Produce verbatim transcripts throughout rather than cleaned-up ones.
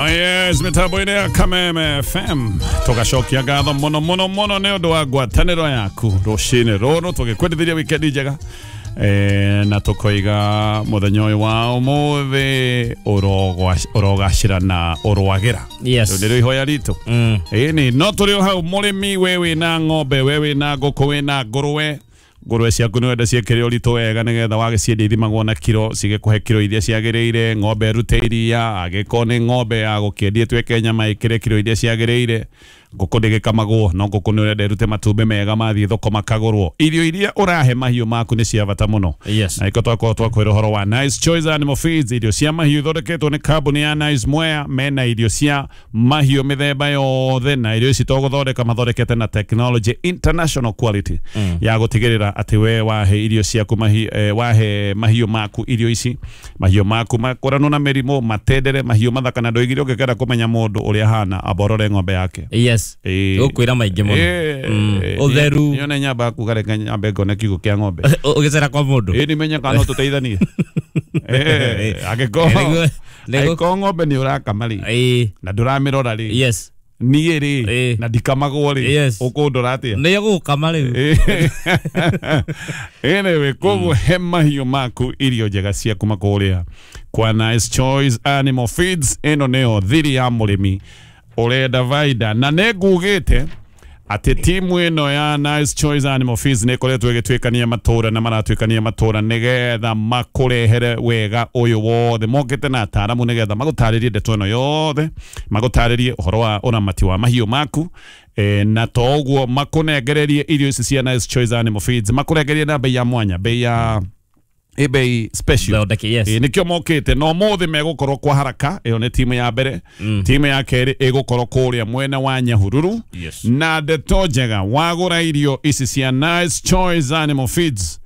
Oh yes, mitambo-inĩ ya Kameme F M tũgacokia ngatho mũno mũno mũno nĩ ũndũ wa ngwatanĩro yaku rũcinĩ rũrũ, tũgĩkwendithĩria wikendi njega e, na tũkoiga mũthenya ũyũ wa ũmũthĩ ũrogacĩra na ũrwagĩra. Yes. Rĩu nĩrĩo ihoya ritũ. Mm. Ĩni no tũrĩ o hau, mũrĩmi, we wĩna ng'ombe, we wĩna ngũkũ, wĩna ngũrwe, ngũrwe ciaku nĩ wenda ciĩkĩre ũritũ wega nĩgetha wagĩciendia ithimagwo na kiro, cigĩkũhe kiro iria ciagĩrĩire, ng'ombe ĩrute iria, angĩkorwo nĩ ng'ombe ya gũkĩendia ĩtuĩke nyama, ĩkĩre kiro iria ciagĩrĩire, ngũkũ ndĩgĩkamagwo, no ngũkũ nĩ ũrenda ĩrute matumbĩ mega mathiĩ thoko makagũrwo. Irio iria ũrahe mahiũ maku nĩ cia bata mũno. Yes. Na iko twakorwo twakwĩra ũhoro wa Nice Choice Animal Feeds, irio cia mahiũ ithondeketwo nĩ kambuni ya Nice Mwea. Mena irio cia mahiũ mĩthemba yothe, na irio ici to gũthondeka mathondekete na technology international quality mm. ya gũtigĩrĩra atĩ we wahe irio ciaku mahi, eh, wahe mahiũ maku irio ici, mahiũ maku makũranwo na mĩrimũ, matendere mahiũ mathaka. Na ndoigire ũngĩkenda kũmenya mũndũ ũrĩa ahana, amba ũrore ng'ombe yake. Yes. Ĩĩ. Gũkwĩra maingĩ mũno. Ĩĩ, Mm. ĩĩ, Ũtheru. Niĩ one nyamba kuga reke nyambe ngone kiugũ kĩa ng'ombe. Ũgĩcera kwa mũndũ. Ĩĩ, nimenye kana no tũteithanie. Eh, angĩkorwo Nĩguo- nĩguo- angĩkorwo ng'ombe nĩ ũrakama rĩ, Ĩĩ. na ndũramĩrora rĩ, Yes. niĩ rĩ, Ĩĩ. na ndikamagwo rĩ, Yes. ũkũndora atĩa? Nĩyo gũgũkama rĩu. Anyway, koguo he mahiũ maku irio njega cia kuma kũrĩa kwa Nice Choice Animal Feeds. Ĩno nĩyo thiri ya mũrĩmi ũrenda baida, na nĩ ngugĩte atĩ timu ĩno ya Nice Choice Animal Feeds nĩ ĩkoretwo ĩgĩtuĩkania matũra na maratuĩkania matũra nĩgetha makũrehere wega ũyũ wothe. Mokĩte na ataaramu nĩgetha magũtarĩrie ndeto ĩno yothe, magũtarĩrie ũhoro wa ũramati wa mahiũ maku, e, na to ũguo makũnengererie irio ici cia Nice Choice Animal Feeds, makũrengerie na bei ya mwanya, bei ya ĩ bei special. Thondeke, yes. Ĩ, nĩkĩo mokĩte no mũthĩ megũkorwo kwa haraka. Ĩyo nĩ timu ya mbere. Timu ya kerĩ ĩgũkorwo kũrĩa mwena wa Nyahururu. Yes. Na ndeto njega, wagũra irio ici cia Nice Choice Animal Feeds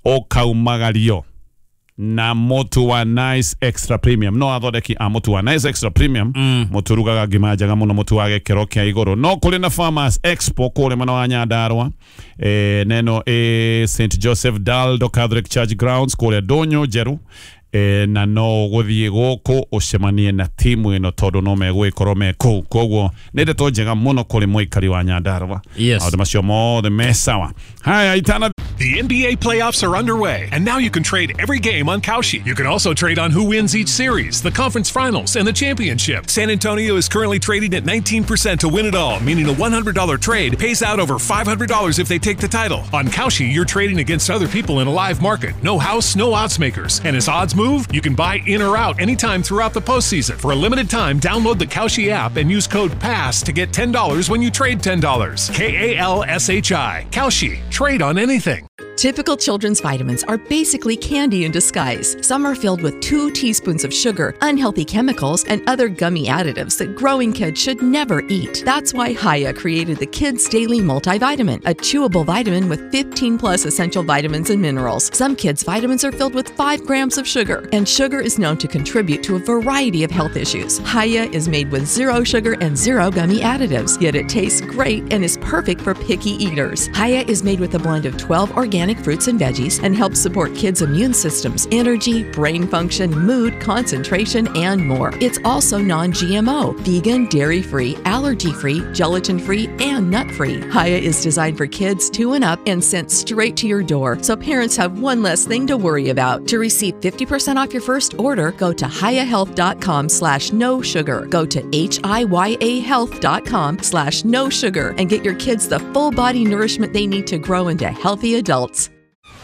ũkaumagario na mũtu wa Nice Extra Premium. No athondeki a mũtu wa Nice Extra Premium mm. mũtu ũrugaga ngima njega mũno, mũtu wa gĩkĩro kĩa igũrũ. No kũrĩ na Farmers Expo kũrĩa mwena wa Nyandarua, e, neno e, Saint Joseph Daldo Catholic Church Grounds kũrĩa Ndũnyũ Njerũ, e, na no gũthiĩ gũkũ ũcemanie na timu ĩno tondũ no megũgĩkorwo me kũu. Koguo nĩ ndeto njega mũno kũrĩ mũikari wa Nyandarua. Yes. Maũndũ macio mothe me sawa. Haya, itana The N B A playoffs are underway, and now you can trade every game on Kalshi. You can also trade on who wins each series, the conference finals, and the championship. San Antonio is currently trading at nineteen percent to win it all, meaning a one hundred dollar trade pays out over five hundred dollars if they take the title. On Kalshi, you're trading against other people in a live market. No house, no odds makers. And as odds move, you can buy in or out anytime throughout the postseason. For a limited time, download the Kalshi app and use code PASS to get ten dollars when you trade ten dollars. K A L S H I. Kalshi. Trade on anything. Typical children's vitamins are basically candy in disguise. Some are filled with two teaspoons of sugar, unhealthy chemicals, and other gummy additives that growing kids should never eat. That's why Hiya created the Kids Daily Multivitamin, a chewable vitamin with fifteen plus essential vitamins and minerals. Some kids' vitamins are filled with five grams of sugar, and sugar is known to contribute to a variety of health issues. Hiya is made with zero sugar and zero gummy additives, yet it tastes great and is perfect for picky eaters. Hiya is made with a blend of twelve organic fruits and veggies and helps support kids' immune systems, energy, brain function, mood, concentration, and more. It's also non G M O, vegan, dairy free, allergy free, gelatin free, and nut free. Hiya is designed for kids two and up and sent straight to your door, so parents have one less thing to worry about. To receive fifty percent off your first order, go to hiyahealth dot com slash no sugar. Go to H I Y A health dot com slash no sugar and get your kids the full body nourishment they need to grow into healthy adults.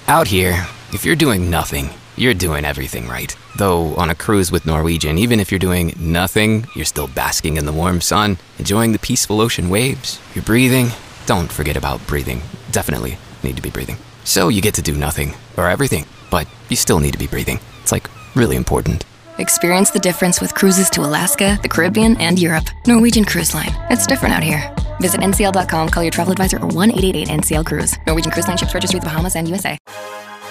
Out here, if you're doing nothing, you're doing everything right. Though on a cruise with Norwegian, even if you're doing nothing, you're still basking in the warm sun, enjoying the peaceful ocean waves. You're breathing. Don't forget about breathing. Definitely need to be breathing. So you get to do nothing, or everything, but you still need to be breathing. It's like really important. Experience the difference with cruises to Alaska, the Caribbean, and Europe. Norwegian Cruise Line. It's different out here. Visit N C L dot com, call your travel advisor, or one eight eight eight N C L Cruise. Norwegian Cruise Line ships registry the Bahamas and U S A.